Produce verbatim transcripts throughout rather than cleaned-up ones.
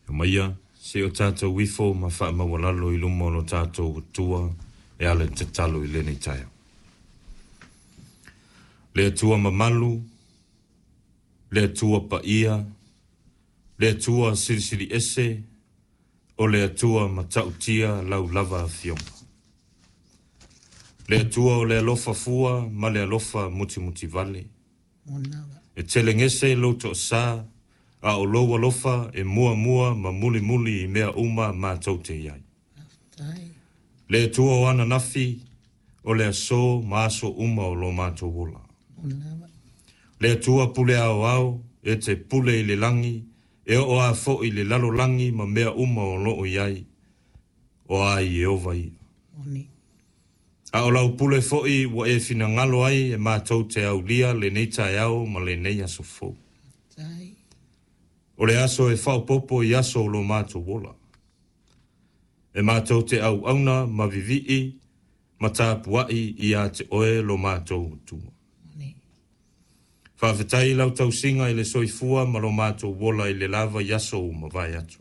Omaia, se i o tatou ifo ma faamaualalo i luma o lo tatou Atua e ala i le tatalo i lenei taeao. Le Atua mamalu, le Atua paia, le Atua silisili ese, o le Atua matautia lau lava afioga. Le Atua o le alofa fua ma le alofa mutimutivale. E telegese lou toasā, a o lou alofa e muamua ma mulimuli i mea uma matou te i ai. Le Atua o ananafi, o le aso ma aso uma o lo matou ola. Le Atua pule aoao, e te pule i le lagi, e oo lava foi i le lalolagi ma mea uma o lo o i ai, o a Ieova ia. A o lau pule foi ua e finagalo ai e matou te aulia lenei taeao ma lenei aso fou. O le aso e faaopoopo i aso o lo matou ola. E matou te auauna ma vivii ma tapuai ia te oe lo matou Atua. Faafetai i lau tausiga i le soifua ma lo matou ola i le lava i aso ua mavae atu.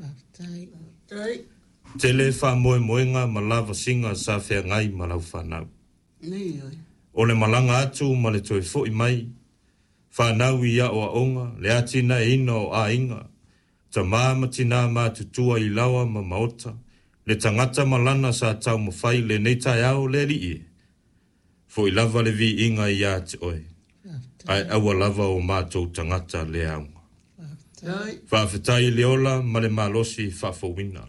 Tele faamoemoega ma lavasiga sa feagai ma lau fanau. O le malaga atu ma le toe foi mai, fanau i aoaoga, le atinaeina o aiga, tama ma tina matutua i laoa ma maota, le tagata ma lana sa taumafai lenei taeao le Alii e. Foi lava le viiga ia te oe, ae aua lava o matou tagata le auga. Faafetai i le ola ma le malosi faafouina.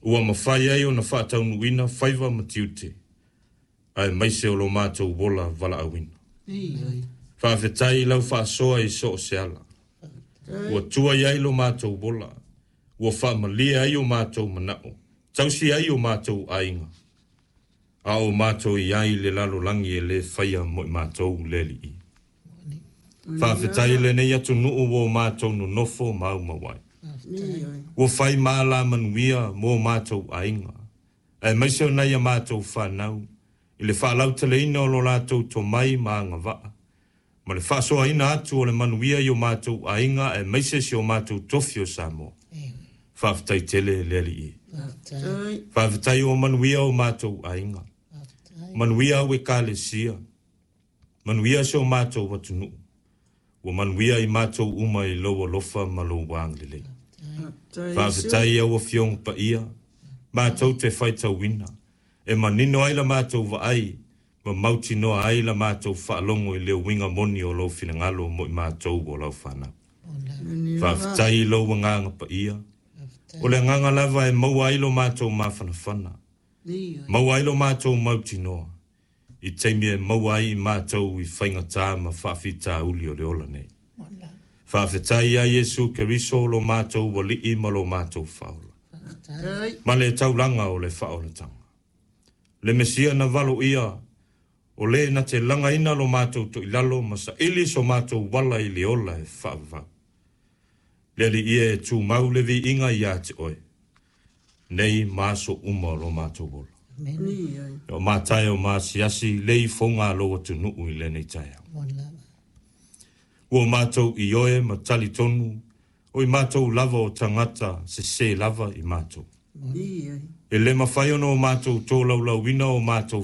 Ua mafai ai ona faataunuuina faiva ma tiute, aemaise o lo matou ola valaauina. Faafetai i lau faasoa i so o se ala. Ua tua i ai lo matou ola, ua faamalie ai o matou manao, tausi ai o matou aiga, a o matou i ai i le lalolagi e le faia mo i matou le Alii. Faafetai i lenei atunuu ua o matou nonofo ma aumau ai. Ua fai ma alamanuia mo o matou aiga, aemaise o nai a matou fanau, i le faalauteleina o lo latou tomai ma agavaa, ma le faasoaina atu o le manuia i o matou aiga aemaise si o matou tofi o Samoa. Faafetai tele le Alii. Faafetai ua manuia o matou aiga, manuia au ekalesia, manuia si o matou atunuu, ua manuia i matou uma i lou alofa ma lou agalelei. Faafetai au afioga paia, matou te faitauina, e manino ai la matou vaai, ma mautinoa ai la matou faalogo i le uiga moni o lou finagalo mo i matou o lau fanau. Faafetai i lou agaga paia, o le agaga lava e maua ai lo matou mafanafana, maua ai lo matou mautinoa, i taimi e maua ai i matou i faigata ma faafitauli o le ola nei. Faafetai ia Iesu Keriso lo matou Alii ma lo matou Faaola, ma le taulaga o le faaolataga. Le Mesia na valoia, o le na te lagaina lo matou toilalo ma saili so matou uala i le ola e faavavau. Le Alii e, tumau le viiga ia te oe, nei ma aso uma o lo matou ola. O matae o maasiasi le ifoga a lou atunuu i lenei taeao. Ua matou ioe ma talitonu, o i matou lava o tagata sese lava i matou. E le mafai ona o matou tolaulauina o matou